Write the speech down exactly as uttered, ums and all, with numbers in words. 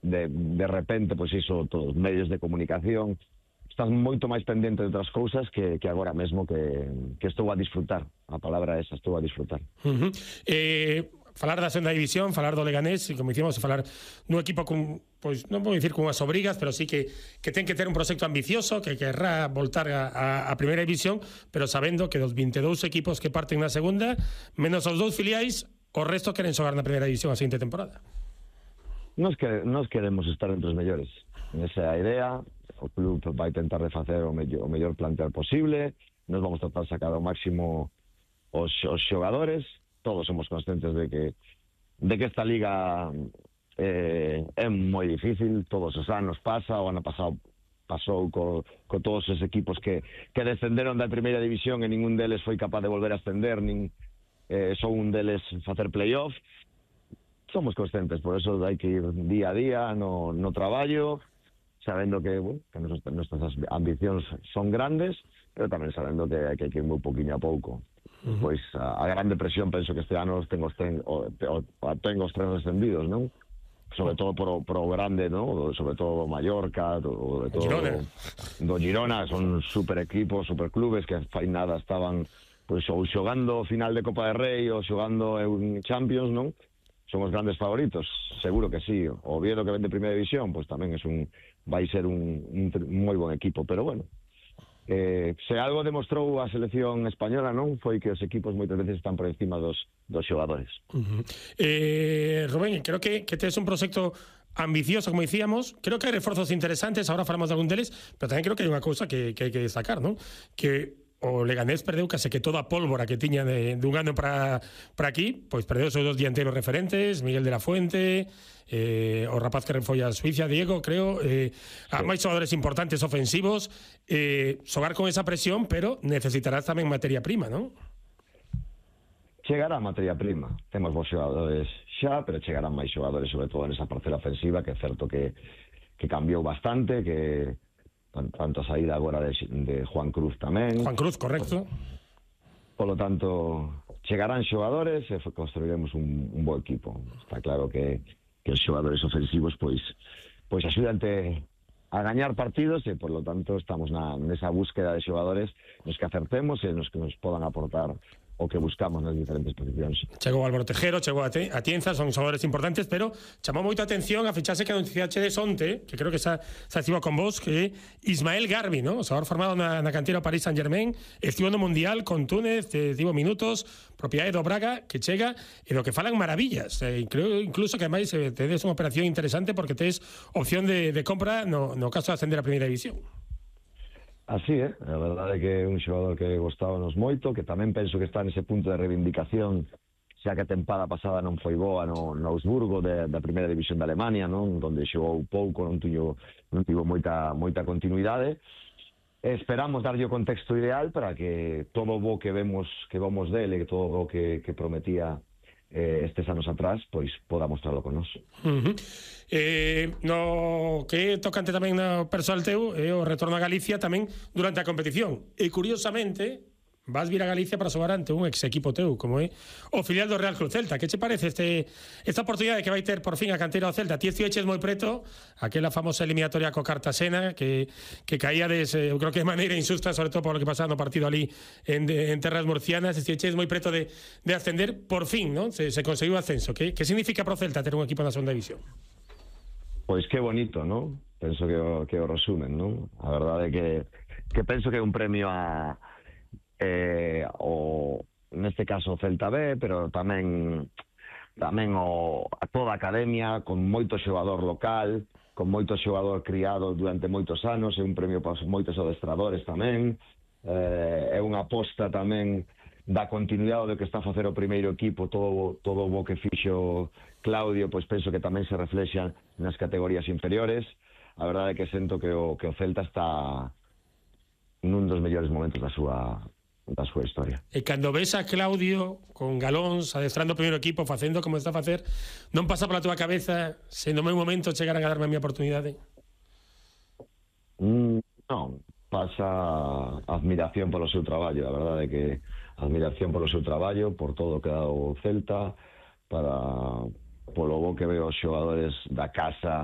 de, de repente, pois iso, todos os medios de comunicación, estás moito máis pendente de outras cousas que, que agora mesmo que, que estou a disfrutar. A palabra esa, estou a disfrutar. Uh -huh. Eh... falar da segunda división, falar do Leganés, e como dicimos, falar dun equipo con, pois non vou dicir con as obrigas, pero sí que, que ten que ter un proxecto ambicioso, que querrá voltar a, a, a primeira división, pero sabendo que dos vinte e dous equipos que parten na segunda, menos os dous filiais, o resto queren xogar na primeira división a seguinte temporada. Nos, que, nos queremos estar entre os mellores. Esa é a idea, o club vai tentar de facer o mellor, o mellor plantel posible, nos vamos tratar de sacar ao máximo os, os xogadores. Todos somos conscientes de que de que esta liga eh, é moi difícil, todos os anos pasa, o ano pasado pasou co, co todos os equipos que, que descenderon da primeira división e ningún deles foi capaz de volver a ascender, nin eh, só un deles facer playoff. Somos conscientes, por eso hai que ir día a día no, no traballo, sabendo que, bueno, que nuestras ambicións son grandes, pero tamén sabendo que hai que ir moi poquinho a pouco. Uh -huh. Pois a, a grande presión penso que este ano tengo os ten, o, o, tengo os tres descendidos, non? Sobre todo por, por o grande, non? Sobre todo o Mallorca, do, de todo Girona. Do Girona, son super equipos, super clubes que fai nada estaban pois ou xogando final de Copa de Rei ou xogando en Champions, non? Son os grandes favoritos, seguro que sí. O Oviedo, que ven de primeira división, pois tamén é un vai ser un, un, un moi bon equipo, pero bueno. Eh, se algo demostrou a selección española, non, foi que os equipos moitas veces están por encima dos, dos xogadores. Uh -huh. eh, Rubén, creo que, que tes un proxecto ambicioso, como dicíamos. Creo que hai reforzos interesantes, ahora falamos de algún deles, pero tamén creo que hai unha cousa que, que hai que destacar, non? Que o Leganés perdeu case que toda a pólvora que tiña de, de un ano para para aquí, pois perdeu os seus dos dianteiros referentes, Miguel de la Fuente, eh, o rapaz que foi a Suiza, Diego, creo, eh, sí. A máis xogadores importantes ofensivos, eh, xogar con esa presión, pero necesitarás tamén materia prima, non? Chegará materia prima, temos bons xogadores xa, pero chegarán máis xogadores, sobre todo nesa parcela ofensiva, que é certo que, que cambiou bastante, que tanto a saída agora de, de Juan Cruz tamén. Juan Cruz, correcto. Por lo tanto, chegarán xogadores e construiremos un, un bo equipo. Está claro que, que os xogadores ofensivos pois pois axudante a gañar partidos e, por lo tanto, estamos na, nesa búsqueda de xogadores nos que acertemos e nos que nos podan aportar o que buscamos nas diferentes posicións. Chegou Álvaro Tejero, chegou a, te, a Tienza, son xogadores importantes, pero chamou moito a atención a fichase que anunciaxe de Sonte, que creo que xa se activa con vos, que Ismael Garbi, ¿no? O xogador formado na, na cantera Paris Saint-Germain, estivo no Mundial con Túnez, estivo minutos, propiedade do Braga, que chega, e do que falan maravillas. Eh, creo incluso que ademais eh, tedes unha operación interesante porque tes opción de, de compra no, no caso de ascender a primeira división. Así é, a verdade é que é un xogador que gostábanos moito, que tamén penso que está nese punto de reivindicación, xa que a tempada pasada non foi boa no, no Augsburgo de, da primeira división de Alemania, non, onde xogou pouco, non tivo, non tivo moita, moita continuidade. Esperamos darlle o contexto ideal para que todo o bo que vemos que vamos dele, que todo o que, que prometía eh, estes anos atrás, pois poda mostrarlo con nós. Uh -huh. Eh, no que tocante tamén no persoal teu é o retorno a Galicia tamén durante a competición, e curiosamente vas vir a Galicia para xogar ante un ex equipo teu como é o filial do Real Club Celta. Que che parece este esta oportunidade que vai ter por fin a canteira do Celta? Ti estiveches moi preto aquela famosa eliminatoria co Cartagena que, que caía des, eu creo que de maneira injusta, sobre todo por lo que pasaba no partido ali en, de, en terras murcianas. Estiveches moi preto de, de ascender, por fin, ¿no? Se, se conseguiu o ascenso. Que, que significa pro Celta ter un equipo na segunda división? Pois que bonito, non? Penso que o, que o resumen, non? A verdade é que, que penso que é un premio a eh, o, neste caso o Celta B, pero tamén tamén o, a toda a academia, con moito xogador local, con moito xogador criado durante moitos anos, é un premio para moitos adestradores tamén, eh, é unha aposta tamén da continuidade do que está a facer o primeiro equipo, todo, todo o bo que fixo Claudio, pois penso que tamén se reflexa nas categorías inferiores. A verdade é que sento que o, que o Celta está nun dos mellores momentos da súa da súa historia. E cando ves a Claudio con Galóns adestrando o primeiro equipo, facendo como está a facer, non pasa pola túa cabeza se no meu momento chegaran a darme a miña oportunidade? Mm, non, pasa admiración polo seu traballo. A verdade é que admiración polo seu traballo, por todo o que dá o Celta, para polo bo que veo os xogadores da casa